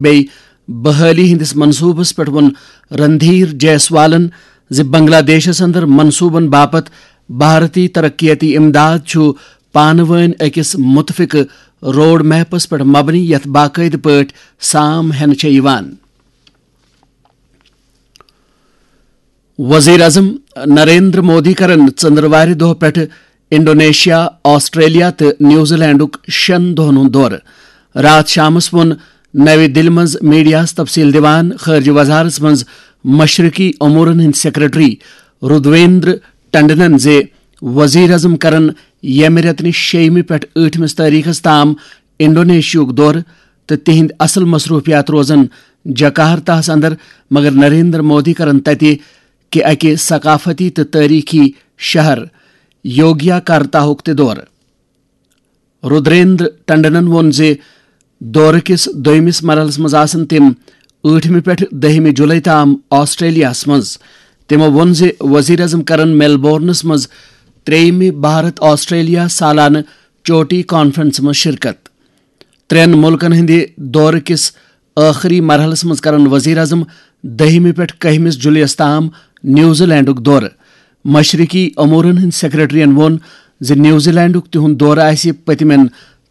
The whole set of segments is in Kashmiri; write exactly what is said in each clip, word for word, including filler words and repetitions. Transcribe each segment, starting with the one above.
بیٚیہِ بحٲلی ہٕنٛدِس منصوٗبس پٮ۪ٹھ ووٚن رندھیر جیسوالن زِ بنگلہ دیشس اندر منصوٗبن باپتھ بھارتی ترقیتی امداد چھُ پانہٕ وٲنۍ أکِس مُتفقہٕ روڈ میپس پٮ۪ٹھ مبنی، یتھ باقٲعدٕ پٲٹھۍ سام ہٮ۪نہٕ چھےٚ یِوان۔ وزیر اعظم نریندر مودی کرن ژندروارِ دۄہ پٮ۪ٹھٕ انڈونیشیا، آسٹریلیا تہٕ نیوزی لینڈُک شٮ۪ن دۄہن ہُنٛد دورٕ۔ راتھ شامس ووٚن نَوِ دِلہِ منٛز میڈیاہَس تفصیل دِوان خارجہ وزارتس منٛز مشرقی امورن ہٕنٛدۍ سیکرٹری رودویندر ٹنڈنن زِ وزیر اعظم کرن ییٚمہِ رٮ۪تہٕ نِش شیٚیِمہِ پٮ۪ٹھ ٲٹھمِس تٲریخس تام انڈونیشیاہُک دورٕ تہٕ تِہنٛدۍ اصل مصروفیات روزن جکارتاہس اندر، مگر نریندر مودی کرن تتہِ کہِ اکہِ ثقافتی تہٕ تٲریخی شہر یوگیاکارتاہُک تہِ دورٕ۔ رودریندر ٹنڈنن ووٚن زِ دورٕ کِس دوٚیمِس مرحلَس منٛز آسَن تِم ٲٹھمہِ پٮ۪ٹھ دٔہمہِ جولائی تام آسٹریلیاہَس منٛز۔ تِمَو ووٚن زِ وزیر اعظم کرَن میلبورنَس منٛز ترٛیٚیِمہِ بھارت آسٹریلیا سالانہٕ چوٹی کانفرنسہِ منٛز شرکت۔ ترٛٮ۪ن مُلکَن ہٕنٛدِ دورٕ کِس ٲخری مرحلَس منٛز کرَن وزیر اعظم دٔہمہِ پٮ۪ٹھ کٔہمِس جولائی یَس تام نیوزی لینڈُک دورٕ۔ مشرقی امورن ہٕنٛدۍ سیکرٹریَن ووٚن زِ نیوزی لینڈُک تِہُنٛد دورٕ آسہِ پٔتمٮ۪ن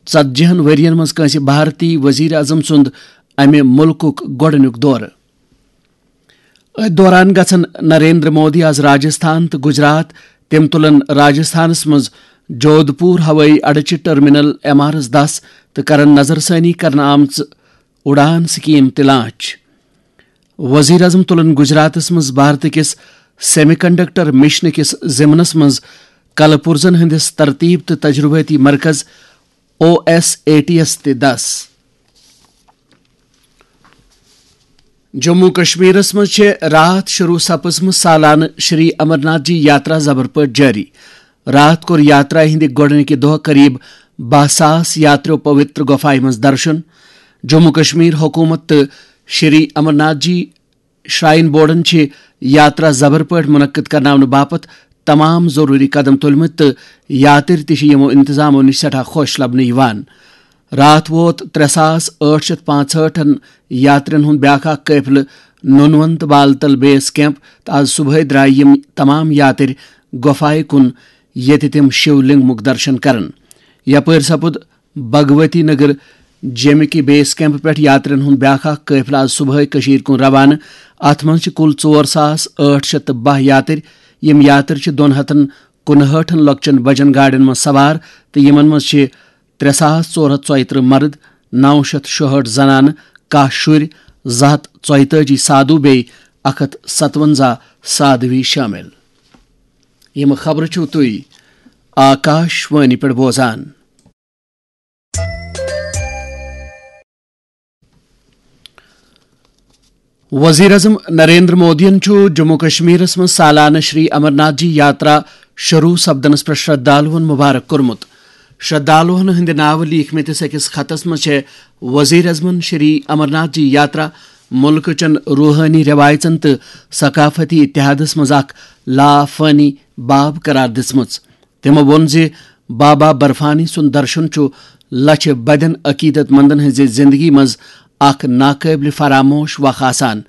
ژتجی ہن ؤرین منٛز کٲنٛسہِ بھارتی وزیر اعظم سُنٛد امہِ مُلکُک گۄڈٕنیُک دورٕ۔ أتھۍ دوران گژھن نریندر مودی آز راجستھان تہٕ گجرات۔ تِم تُلن راجستھانس منٛز جودھپور ہوٲیی اڈٕ چہِ ٹرمینل ایم آر ایس دس تہٕ کرن نظر ثٲنی کرنہٕ آمژٕ اُڑان سکیم تہِ لانچ۔ وزیر اعظم تُلن گجراتس منٛز بھارت کِس سیمی کنڈکٹر مشن کِس ضمنس منٛز کلہٕ پُرزن ہٕنٛدِس ترتیب تہٕ تجربٲتی مرکز او ایس اے ٹی یس تہِ دس۔ جموں کشمیرس منٛز چھےٚ راتھ شروع سپٕزمٕژ سالانہٕ شری امرناتھ جی یاترا زبر پٲٹھۍ جٲری۔ راتھ کوٚر یاترا ہٕنٛدِ گۄڈٕنِکہِ دۄہ قریب باہ ساس یاتریو پوتر گۄپھایہِ منٛز درشن۔ جموں کشمیر حکومت تہٕ شری امرناتھ جی شراین بورڈن چھِ یاترا زبر پٲٹھۍ منعقد کرناونہٕ باپتھ تمام ضروٗری قدم تُلمٕتۍ تہٕ یاترۍ تہِ چھِ یِمو انتظامو نِش سٮ۪ٹھاہ خۄش لبنہٕ یِوان۔ راتھ ووت ترٛےٚ ساس ٲٹھ شیٚتھ پانٛژہٲٹھن یاترین ہُنٛد بیٛاکھ اکھ قٲفلہٕ نونونت بالتل بیس کیمپ تہٕ از صبحٲے درٛاے یِم تمام یاترۍ گۄپھایہِ کُن، ییٚتہِ تِم شِو لنگمُک درشن کرن۔ یپٲرۍ سپُد بھگوتی نگر جیمہِ کہِ بیس کیمپ پٮ۪ٹھ یاترین ہُنٛد بیٛاکھ اکھ قٲفلہٕ آز صبحٲے کٔشیٖرِ کُن روانہٕ۔ اتھ منٛز چھِ کُل ژور ساس ٲٹھ شیٚتھ تہٕ باہ یاترۍ۔ یِم یاترۍ چھِ دۄن ہتن کُنہٲٹھن لۄکچن بجن گاڑٮ۪ن منٛز سوار تہٕ یِمن منٛز چھِ ترٛےٚ ساس ژور ہتھ ژۄیہِ ترٕٛہ مرد، نو شیٚتھ شُہٲٹھ زنانہٕ، کاہ شُرۍ، زٕ ہتھ ژۄیتٲجی سادھو بیٚیہِ اکھ ہتھ ستونزہ سادھوی شٲمِل۔ یِم خبرٕ چھِو تُہۍ آکاش وانی پٮ۪ٹھ بوزان۔ وزیر اعظم نریندر مودیَن چھُ جموں کشمیرس منٛز سالانہٕ شری امرناتھ جی یاترا شروع سپدنس پٮ۪ٹھ شردھالوَن مبارک کوٚرمُت۔ شردھالوَن ہٕنٛدِ ناوٕ لیٖکھمٕتِس أکِس خطس منٛز چھےٚ وزیر اعظمَن شری امرناتھ جی یاترا مُلکہٕ چٮ۪ن روحٲنی رٮ۪وایژن تہٕ ثقافتی اتحادس منٛز اکھ لافٲنی باب قرار دِژمٕژ۔ تِمو ووٚن زِ بابا برفانی سُنٛد درشن چھُ لچھِ بدٮ۪ن عقیدت مندن ہٕنٛزِ زندگی منٛز اکھ ناقٲبلِ فراموش وق آسان۔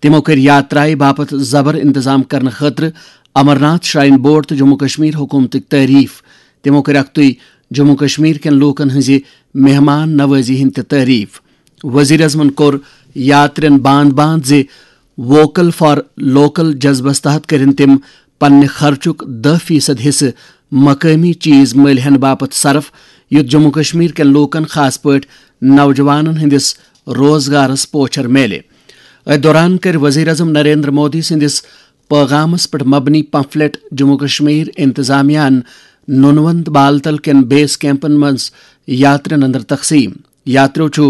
تِمو کٔرۍ یاترایہِ باپتھ زبر انتظام کرنہٕ خٲطرٕ امرناتھ شراین بورڈ تہٕ جموں کشمیر حکومتٕکۍ تعریف۔ تِمو کٔرۍ اکھتُے جموں کشمیر کٮ۪ن لوٗکن ہٕنٛزِ مہمان نوازی ہٕنٛدۍ تہِ تعریف۔ وزیر اعظمن کوٚر یاترین باند باند زِ ووکل فار لوکل جذبس تحت کٔرِن تِم پننہِ خرچُک دَہ فیصد حصہٕ مقٲمی چیز مٔلۍ ہٮ۪نہٕ باپتھ صرف، یُتھ جموں کشمیر کٮ۪ن لوٗکن، خاص پٲٹھۍ نوجوانن ہٕنٛدِس روزگارس پوچھر میلہِ۔ أتھۍ دوران کٔرۍ وزیر اعظم نریندر مودی سٕنٛدِس پٲغامس پٮ۪ٹھ مبنی پمفلٹ جموں کشمیر انتظامیہ ہن نونونت بالتل کٮ۪ن بیس کیمپن منٛز یاترین اندر تقسیم۔ یاتریو چھُ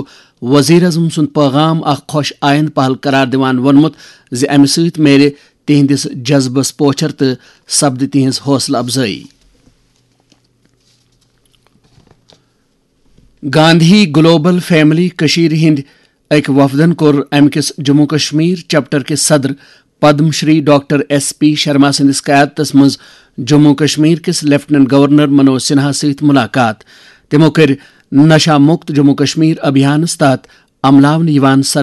وزیر اعظم سُنٛد پٲغام اکھ خۄش آیند پہل قرار دِوان ووٚنمُت زِ امہِ سۭتۍ میلہِ تِہنٛدِس جذبس پوچھر تہٕ سپدِ تِہنٛز حوصلہٕ افزٲیی۔ گاندھی گلوبل فیملی کٔشیٖرِ ہٕنٛدۍ أکۍ وفدن کوٚر امہِ کِس جموں کشمیر چیپٹر کِس صدر Padma Shri doctor S P Sharma سٕنٛدِس قیادتس منٛز جموں کشمیر کِس لیفٹیننٹ گورنر منوج سنہا سۭتۍ مُلاقات۔ تِمو کٔرۍ نشہ مُکت جموں کشمیر ابھیانس تحت عملاونہٕ یِوان۔